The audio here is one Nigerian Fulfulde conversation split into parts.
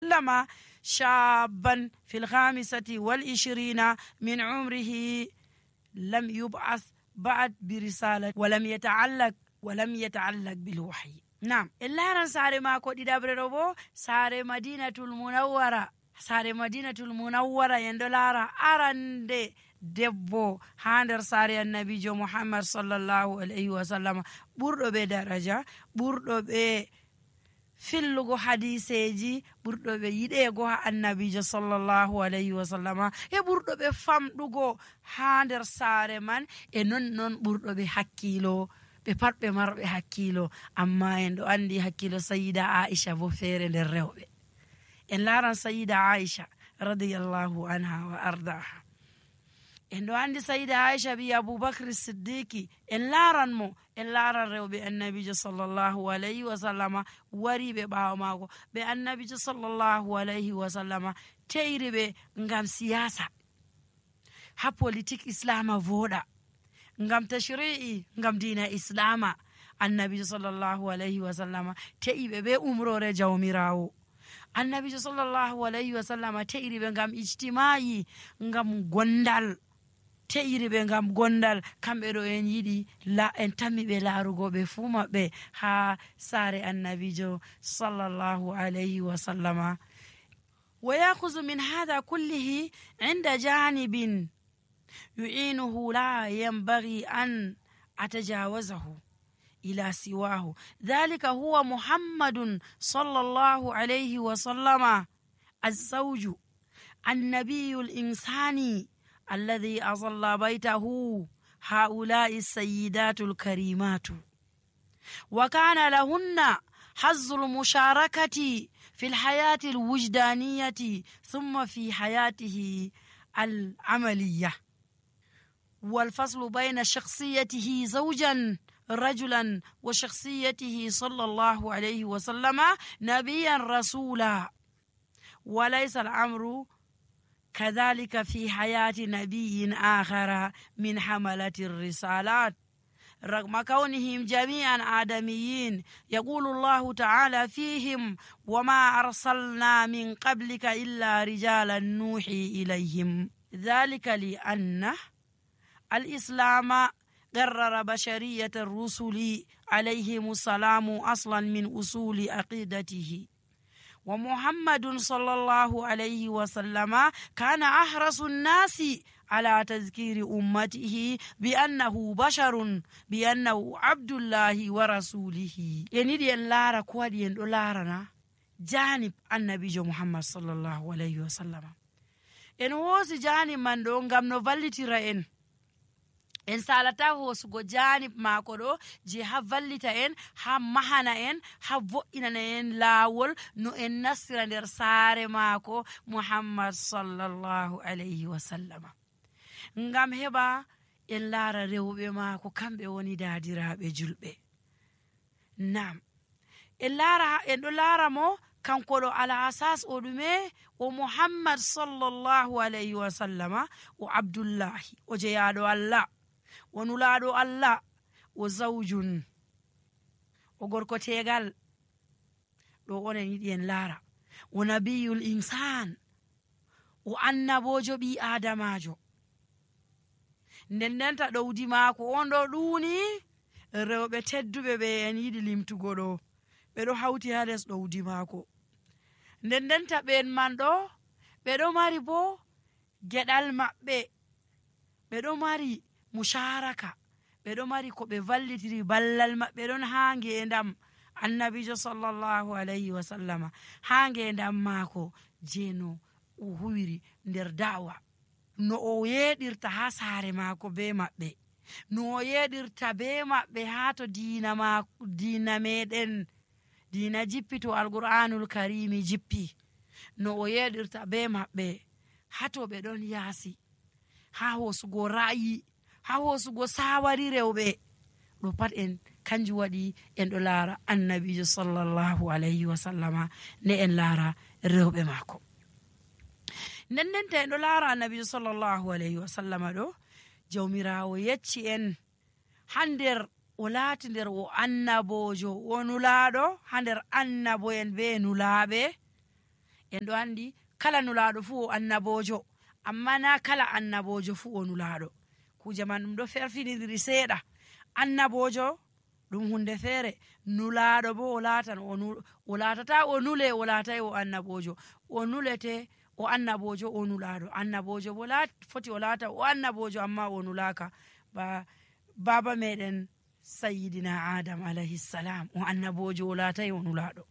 لما شابا في 25 من عمره لم يبعث بعد برسالة ولم يتعلق بالوحي. نعم إلا ساري ما كو ديدابري روبو ساري مدينة المنورة يندولارا أرندي debbo ha nder saare annabijo Muhammad sallallahu alaihi wasallam ɓurɗo ɓe daraja, ɓurɗo ɓe fillugo hadiseji, ɓurɗo ɓe yiɗego ha annabijo sallallahu alaihi wasallama, e ɓurɗo ɓe famɗugo ha nder saare man, e non ɓurɗo ɓe hakkilo, ɓe pat ɓe marɓe hakkilo. Amma en ɗo andi hakkilo sayida Aisha bo feere nder rewɓe. En laran sayida Aisha radiyallahu anha wa ardaha. En ɗo andi sayida Aisha bi Abubakar Siddiqi, en laran rewɓe annabijo sallallahu alaihi wasallama wariɓe ɓawo mako, ɓe annabijo sallallahu alaihi wasallama teiri ɓe ngam siyasa, ha politique islama voɗa, ngam tashri'i, ngam dina islama. Annabijo sallallahu alaihi wasallama te'iɓe be umrore jawmirawo. Annabijo sallallahu alaihi wasallama teiri ɓe ngam ijtima'i, ngam gondal, te'iri ɓe ngam gondal. Kamɓe ɗo en yiɗi en tammi ɓe laarugo ɓe fuu maɓɓe ha saare annabijo sallallahu alaihi wasallama. wa yakhudhu min hadha kullihi inda janibin yu'inuhu la yanbaghi an atajawazahu ila siwahu dhalika huwa muhammadun sallallahu alaihi wasallama az-zawju annabiyul insani الذي أظل بيته هؤلاء السيدات الكريمات، وكان لهن حظ المشاركة في الحياة الوجدانية ثم في حياته العملية، والفصل بين شخصيته زوجا رجلا وشخصيته صلى الله عليه وسلم نبيا رسولا. وليس الأمر كذلك في حياة نبي آخر من حملة الرسالات رغم كونهم جميعا آدميين. يقول الله تعالى فيهم: وما أرسلنا من قبلك إلا رجالا نوحي إليهم. ذلك لأن الإسلام قرر بشرية الرسل عليهم السلام أصلا من أصول عقيدته، ومحمد صلى الله عليه وسلم كان أحرص الناس على تذكير أمته بأنه بشر، بأنه عبد الله ورسوله. ينيدي اللارة كوادي اللارنا جانب النبي محمد صلى الله عليه وسلم. إن هوس جانب من دون غم نوفالتي رأين en salata hosugo janib mako ɗo je ha vallita en, ha mahana en, ha vo'inana en lawol no en nasira nder saare mako Muhammad sallallahu alaihi wasallama, ngam heɓa en laara rewɓe mako kamɓe woni dadiraɓe julɓe. Nam en ɗo laara mo kanko ɗo ala asas o ɗume o Muhammad sallallahu alaihi wasallama o Abdullahi o jeyaɗo Allah, o nulaɗo Allah, o zawjun, o gorko tegal. ɗo onen yiɗi en laara o nabiyul insan, o annabojo ɓi adamajo. ndendenta ɗowdi maako on ɗo ɗuuni rewɓe tedduɓe ɓe en yiɗi limtugo ɗo ɓe ɗo hawti ha les ɗowdi maako. ndendenta ɓen man ɗo ɓe ɗo mari bo geɗal maɓɓe, ɓe ɗo mari musharaka, ɓe ɗo mari ko ɓe vallitiri ballal maɓɓe ɗon ha ngendam annabijo sallallahu alaihi wasallama, ha ngendam maako je no o huwiri nder da'wa, no o yeɗirta ha saare maako be maɓɓe, no o yeɗirta be maɓɓe ha to dina meɗen, dina jippi to alqur'anul karimi jippi, no o yeɗirta be maɓɓe ha to ɓe ɗon yaasi, ha hosugo ra'yi, ha hosugo sawari rewɓe. ɗo pat en kanjum waɗi en ɗo laara annabijo sallallahu alaihi wasallama ne en laara rewɓe maako. ndendenta en ɗo laara annabijo sallallahu alaihi wasallama ɗo jawmirawo yecci en ha nder o laati nder o annabojo, o nulaɗo ha nder annabo'en be nulaɓe, en ɗo andi kala nulaɗo fuu o annabojo, amma na kala annabojo fuu o nulaɗo. kuje man ɗum ɗo ferfinidiri seeɗa. annabojo ɗum hunde feere, nulaɗo bo o latata o nule, o latai o annabojo. O nulete o annabojo, o nulaɗo. annabojo bo foti o lata o annabojo amma o nulaka. baba meɗen sayyidina adam alayhi salam o annabojo, o latai o nulaɗo.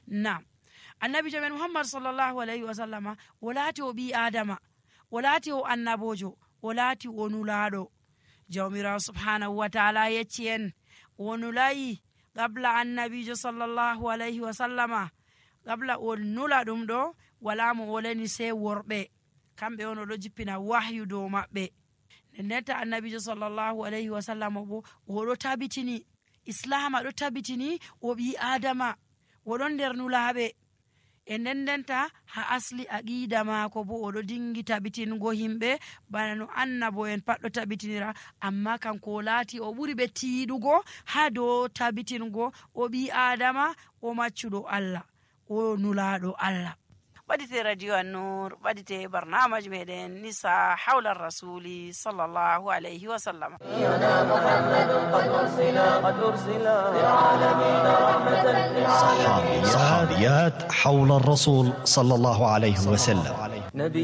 nam annabijo men muhammad sallllahu alayhi wa sallama o laati o ɓi adama, o laati o annabojo, o laati o nulaɗo. jawmirawo subhanahu wa taala yecci en o nulayi qabla annabijo sallllahu alayhi wa sallama. qabla o nula ɗum ɗo wala mo o leni sey worɓe, kamɓe on oɗo jippina wahyu dow maɓɓe. ndenta annabijo sallllahu alayhi wa sallama bo oɗo tabitini islama, ɗo tabitini o ɓi adama, oɗon nder nulaɓe. e ndendenta ha asli aqida maako bo oɗo dingi tabitingo himɓe bana no annabo en pat ɗo tabitinira, amma kanko o laati o ɓuri ɓe tiiɗugo ha dow tabitingo o ɓi adama, o maccuɗo allah, o nulaɗo allah. ɓadite radio annur, ɓadite barnamaji meɗen nisa hawla rasuli sallllahu alayhi wa sallam. صحابيات حول الرسول صلى الله عليه وسلم.